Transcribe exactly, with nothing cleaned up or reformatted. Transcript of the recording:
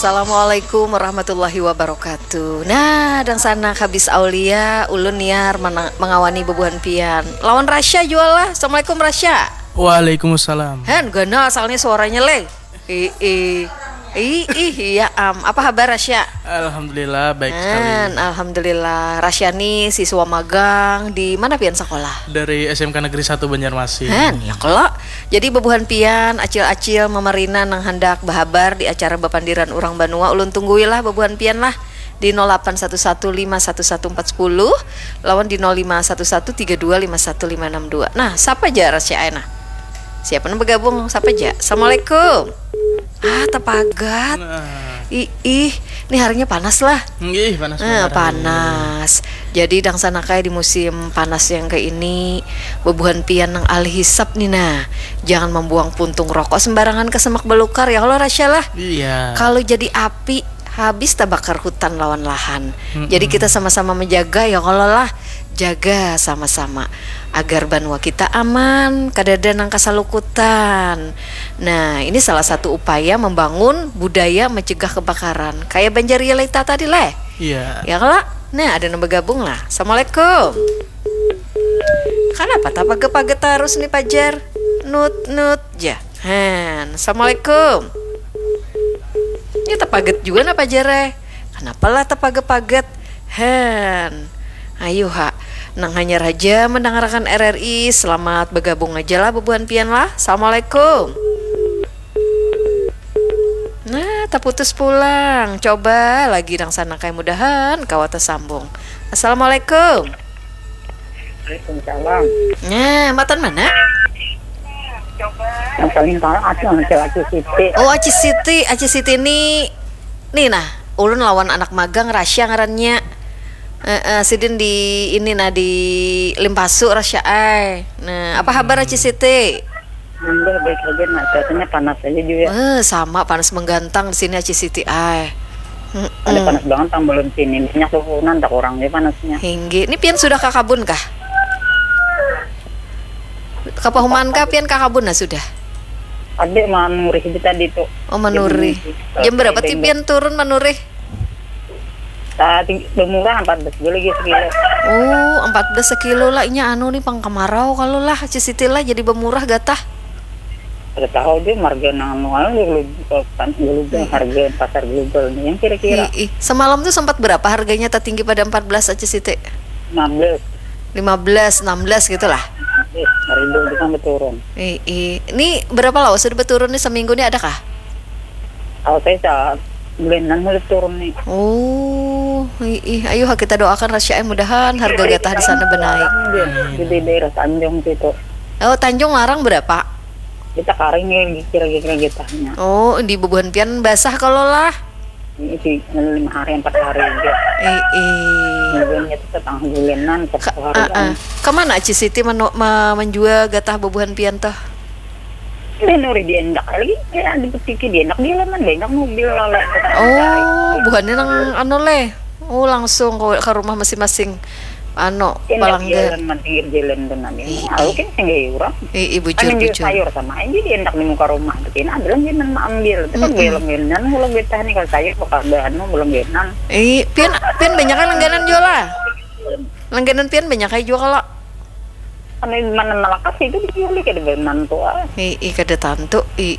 Assalamualaikum warahmatullahi wabarakatuh. Nah, dangsanak habis Aulia, ulun Niar mana- mangawani bebuhan pian. Lawan Rasya jua lah. Assalamualaikum Rasya. Waalaikumsalam. Han, ganal asalnya suaranya leh. Ih, ih. Ih, ih, iya am. Apa habar Rasya? Alhamdulillah baik sekali. Han, alhamdulillah. Rasya ni siswa magang di mana pian sekolah? Dari S M K Negeri satu Banjarmasin. Han, ya kalo. Jadi bebuhan pian acil-acil mamarina nang handak bahabar di acara bapandiran urang banua, ulun tunggui lah bebuhan pian lah di nol lapan satu satu lima satu satu empat sepuluh lawan di nol lima satu satu tiga dua lima satu lima enam dua. Nah, sapa ja Rasya ai nah? Siapa nang begabung? Sapa ja? Assalamualaikum. Ah, tapagat. Nah, Ih, ih, ini harinya panas lah. nggih panas Nah, banget. Panas. Jadi dangsanakai di musim panas yang kayak ini, bebuhan pian nang alih hisap nih nah. Jangan membuang puntung rokok sembarangan ke semak belukar ya kalau Rasya lah. Iya. Kalau jadi api, habis tabakar hutan lawan lahan. Mm-mm. Jadi kita sama-sama menjaga ya kalau lah. Jaga sama-sama agar banua kita aman, kadada nang kasalukutan. Nah, ini salah satu upaya membangun budaya mencegah kebakaran. Kayak Banjar Yelita tadi leh. Iya. Ya kalau? Nah, ada nang bergabung lah. Assalamualaikum. Kenapa tak paget-paget terus nih pajar? Nut nut ja. Han, assalamualaikum. Ini tapaget juga nah pajar eh. Kenapa lah tapaget-paget? Han. Ayo ha. Nang hanyar aja mendengarkan R R I, selamat bergabung aja lah bebuhan pian lah. Assalamualaikum. Nah, taputus pulang. Coba lagi dangsanakai, mudahan kawa tersambung. Assalamualaikum. Waalaikumsalam. Nah, matan mana? Yang paling tahu aku yang laki-laki Siti. Oh, Aci Siti. Aci Siti ni, nih nah, ulun lawan anak magang Rasya ngarannya. Eh, eh, sidin di ini nah di Limpasu Rasya ai. Nah, apa habar Aci Siti? Alhamdulillah baik aja, nah cuacanya panas aja juga. Eh, sama panas menggantang di sini Aci Siti ai. Mm-mm. Ada panas banget tang belum sini, banyak turunan tak kurang dia panasnya. Hinggi. Ini pian sudah ke kabun kah? Ke pahuman kah pian ke kabun nah sudah? Ada manurih itu tadi tuh. Oh, manurih. Jadi, Jam berapa ti beng-, pian turun manurih? Ah, ting- bermurah empat belas dulu lagi sekilo. Oh, empat belas sekilo lah. Inya anu nih pang kemarau kalau lah Aci Siti lah jadi bermurah gatah. Ada tahu dia marga nang anu anu global kan, global, harga pasar global nih yang kira-kira Ih, ih. Semalam tuh sempat berapa harganya tertinggi pada empat belas Aci Siti? lima belas. Lima belas, enam belas gitu lah. Eh, seribu itu kan berturun. Ih, ih. Ini berapa lama sudah berturun nih seminggu nih adakah? Kalau saya saat bulanan mulai turun nih. Oh, ih, ih. Ayo ha, kita doakan Rasya ai mudahan harga gatah di sana benaik. Di, di daerah Tanjung situ. Oh, Tanjung larang berapa? Kita karing ya kira-kira getahnya. Oh, di bebuhan pian basah kalau lah. Ini sih lima hari empat hari aja. Ih, ih. Kemudian itu setengah bulanan, Ka- satu hari ah, ah. Kemana Aci Siti menu- me- menjual gatah bebuhan pian tuh? Ini nuri diendak lagi, ya di petiki diendak di halaman banyak mobil lalu. Oh, buhannya nang anu leh. Oh, langsung ke, ke rumah masing-masing. Anu, Enak pelanggan. Jalan mah pinggir jalan tuh nanti. Ih, Aku ih. kan sendiri orang. Ih, ih, Kan bujur, ambil bujur. Sayur sama aja diendak di muka rumah. Tapi ini ada lagi nang ambil. Tapi Mm-mm. belum genan, belum getah nih kalau sayur bakal ada anu belum genan. Ih, pian, pian banyak langganan jual lah. Langganan pian banyak aja jual kalau. Kan mana malakas itu dijual kada benan tuh ah. Ih, ih, kada tantu. Ih,